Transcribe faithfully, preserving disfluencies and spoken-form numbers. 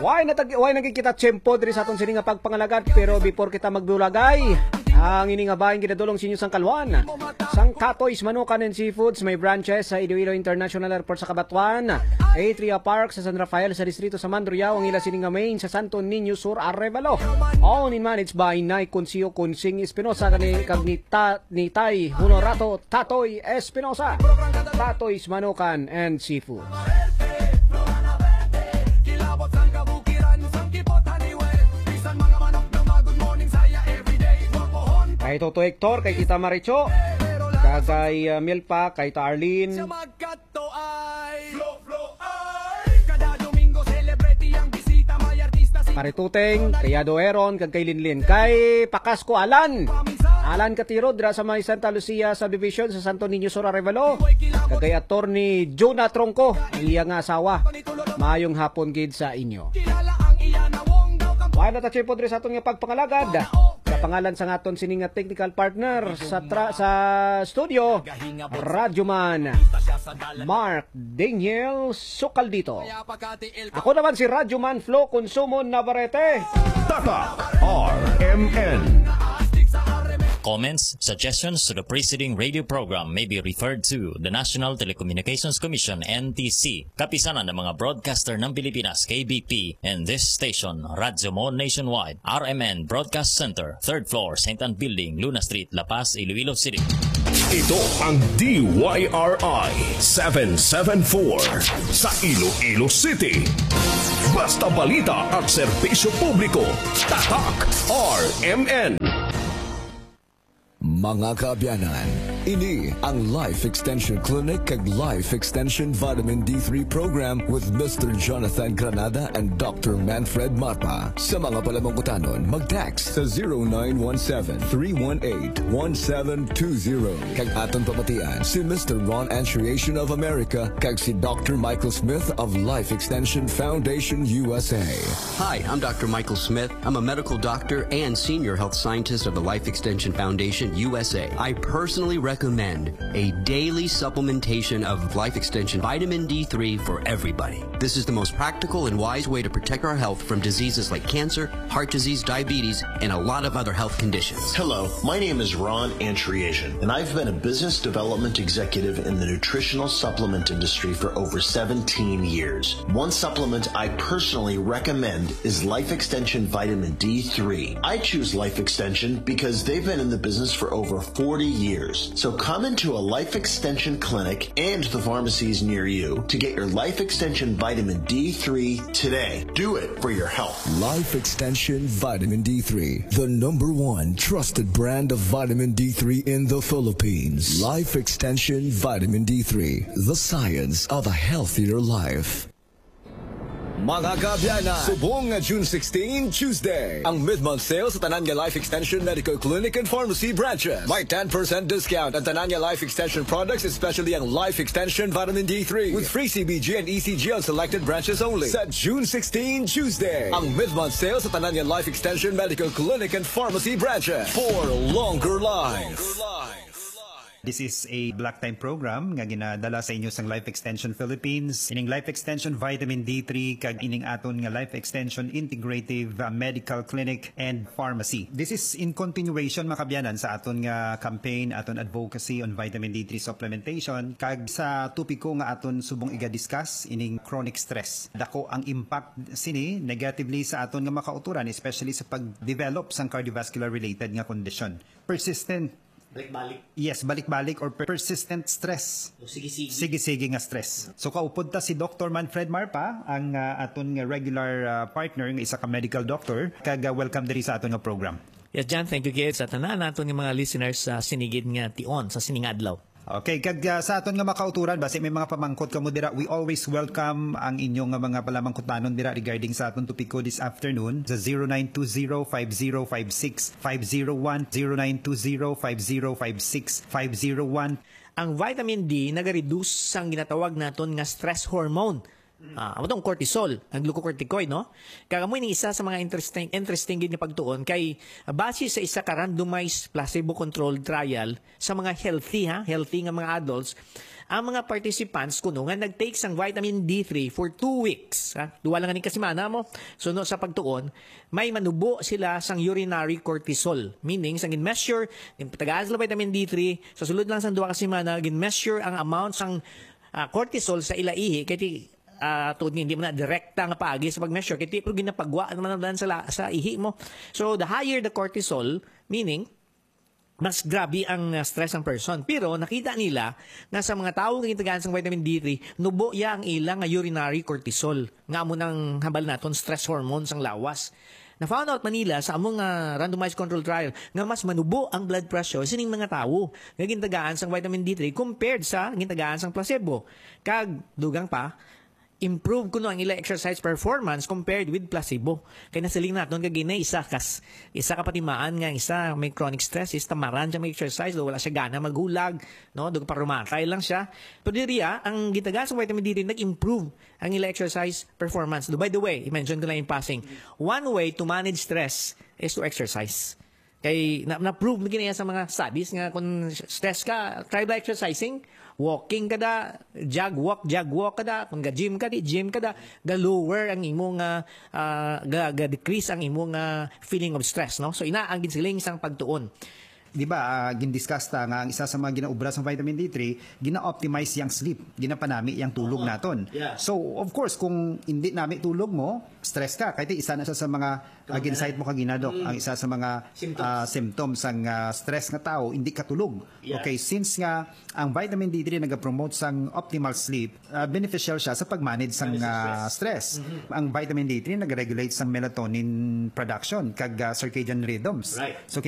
Way na tag-, way na gid kita tiyempo diri sa aton sini nga pagpangalagad, pero before kita magbulagay, ang ini nga bahin ginadulong sa inyo sang kalwan sang Tatoy's Manukan and Seafoods. May branches sa Iloilo International Airport sa Cabatuan, Atria Park sa San Rafael sa distrito sa Mandurriao, ang ila sini nga main sa Santo Niño Sur, Arevalo. Owned and managed by Nay Concio Consing Espinosa kag ni, kag ni Ta-, ni Tay Honorato Tatoy Espinosa. Tatoy's Manukan and Seafoods. Kay Toto Hector, kay Tita Maricho, kag kay, uh, Milpa, kay Ta Arlene. Kada Domingo, celebrity ang bisita. May artista si Pare Tuteng, kay Ado Aaron, kag kay Linlin. Kay Pakas ko, Alan. Alan Katiro, dira sa may Santa Lucia subdivision sa Santo Niño Sur, Arevalo. Kag kay Attorney Jonah Tronco, ang iya nga asawa. Maayong hapon gid sa inyo. Kilala ang iya nawong daw kang Wala ta, Chipo, diri sa aton nga pagpangalagad. Sa pangalan sa aton sini nga technical partner sa tra-, sa studio, Radyoman Mark Daniel Sukaldito. Ako naman si Radyoman Flo Consumo Navarrete. Tatak R M N. Comments, suggestions to the preceding radio program may be referred to the National Telecommunications Commission, N T C, Kapisanan ng mga Broadcaster ng Pilipinas, K B P, and this station, Radyo Mo Nationwide, R M N Broadcast Center, third floor, Saint Ann Building, Luna Street, La Paz, Iloilo City. Ito ang D Y R I seven seven four sa Iloilo City. Basta balita at serbisyo publiko, Tatak R M N. Mga kaabyanan, ini ang Life Extension Clinic kag Life Extension Vitamin D three Program with Mister Jonathan Granada and Doctor Manfred Marpa. Sa mga palamangkutanon, mag-text sa zero nine one seven, three one eight, one seven two zero. Kag aton pamatian si Mister Ron Antriation of America kag si Doctor Michael Smith of Life Extension Foundation U S A. Hi, I'm Doctor Michael Smith. I'm a medical doctor and senior health scientist of the Life Extension Foundation U S A. I personally recommend a daily supplementation of Life Extension Vitamin D three for everybody. This is the most practical and wise way to protect our health from diseases like cancer, heart disease, diabetes, and a lot of other health conditions. Hello, my name is Ron Antriation, and I've been a business development executive in the nutritional supplement industry for over seventeen years. One supplement I personally recommend is Life Extension Vitamin D three. I choose Life Extension because they've been in the business for over forty years. So come into a Life Extension clinic and the pharmacies near you to get your Life Extension Vitamin D three today. Do it for your health. Life Extension Vitamin D three, the number one trusted brand of vitamin D three in the Philippines. Life Extension Vitamin D three, the science of a healthier life. Mga kaabyanan, subong nga June sixteen, Tuesday, ang mid-month sale sa tanan nga Life Extension Medical Clinic and Pharmacy branches. May ten percent discount ang tanan nga Life Extension products, especially ang Life Extension Vitamin D three, with free C B G and E C G on selected branches only. Sa June sixteen, Tuesday, ang mid-month sale sa tanan nga Life Extension Medical Clinic and Pharmacy branches for longer life. This is a block time program nga ginadala sa inyo sang Life Extension Philippines, ining Life Extension Vitamin D three, kag ining aton nga Life Extension Integrative, uh, Medical Clinic and Pharmacy. This is in continuation, mga kaabyanan, sa aton nga campaign, aton advocacy on vitamin D three supplementation, kag sa topiko nga aton subong iga-discuss, ining chronic stress. Dako ang impact sini negatively sa aton nga mga kautoran, especially sa pag-develop sang cardiovascular related nga kondisyon. Persistent Balik-balik. Yes, balik-balik or per-, persistent stress. O, sige-sige. Sige-sige nga stress. So, kaupod ta si Doctor Manfred Marpa, ang, ah, aton nga regular, ah, partner, nga isa ka medical doctor, kag, ah, welcome diri sa aton nga program. Yes, John, thank you gid sa tanan naton nga mga listeners sa sinigid nga tion, sa sining adlaw. Okay, kag, ah, sa aton nga mga kautoran, basi may mga pamangkot kamo dira, we always welcome ang inyo nga mga palamangkutanon dira regarding sa aton topiko this afternoon sa zero nine two zero five zero five six five zero one, zero nine two zero five zero five six five zero one. Ang vitamin D nagareduce sang ginatawag naton nga stress hormone. Ah, amo tong cortisol, ang glucocorticoid, no? Kag amo ini isa sa mga interesting, interesting gid nga pagtuon kay base sa isa ka randomized placebo controlled trial sa mga healthy, ha, healthy nga mga adults, ang mga participants kuno nga nag-take sang vitamin D three for two weeks, ha, duwa lang ni ka semana mo, suno sa pagtuon, may manubo sila sang urinary cortisol, meaning sang gin-measure, ginpatagaan sila vitamin D three, sa sulod lang sang duha ka semana, gin-measure ang amount sang ah, cortisol sa ila ihi, kay ti, ah, tuod nga hindi mo na direkta nga paagi sa pag-measure, kay ti, pero ginapagwa naman lang sa, la- sa ihi mo. So, the higher the cortisol, meaning, mas grabe ang ah, stress ng person. Pero nakita nila nga sa mga tawo nga gintagaan sang vitamin D three, nubo ya ang ilang nga urinary cortisol, nga amo nang hambal naton stress hormone sang lawas. Na-found out man nila sa among ah, randomized control trial nga mas manubo ang blood pressure sining mga tawo nga gintagaan sang vitamin D three compared sa gintagaan sang placebo. Kag dugang pa, improve kuno ang ila exercise performance compared with placebo. Kay nasiling naton kag gina isa kas isa ka patimaan nga isa may chronic stress is tamaran siya mag-exercise, wala siya gana maghulag, no? Dugang pa rumatay lang siya. Pero diri ah, ang gintagaan sa vitamin D three nag-improve ang ila exercise performance. By the way, i-mention ko lang in passing, one way to manage stress is to exercise. Kay na, na-prove na gina sa mga studies nga kung stress ka, try ba exercising? Walking ka da, jog walk, jog walk ka da. Kung ga-gym ka, di gym ka da. Ga-lower ang imo nga, ah, ga, ga-decrease ang imo nga feeling of stress, no? So, ina ang ginsiling sang pagtuon. Di ba, ah, gindiscuss ta nga ang isa sa mga ginaobra sa vitamin D three, gina-optimize yang sleep, ginapanami yang tulog Oo. naton. Yeah. So, of course, kung hindi nami tulog mo, stress ka. Kaya isa na siya sa mga, ah, Kaya gin-cite mo kagina, Doc, Mm. ang isa sa mga, Symptoms. ah, symptoms sang, ah, stress nga tao, hindi katulog. Yeah. Okay, since nga ang vitamin D three nagapromote sang optimal sleep, ah, beneficial siya sa pag-manage sang, Manage sa ah, stress. stress. Mhm. Ang vitamin D three nag-regulate sang melatonin production kag, ah, circadian rhythms. Right. So,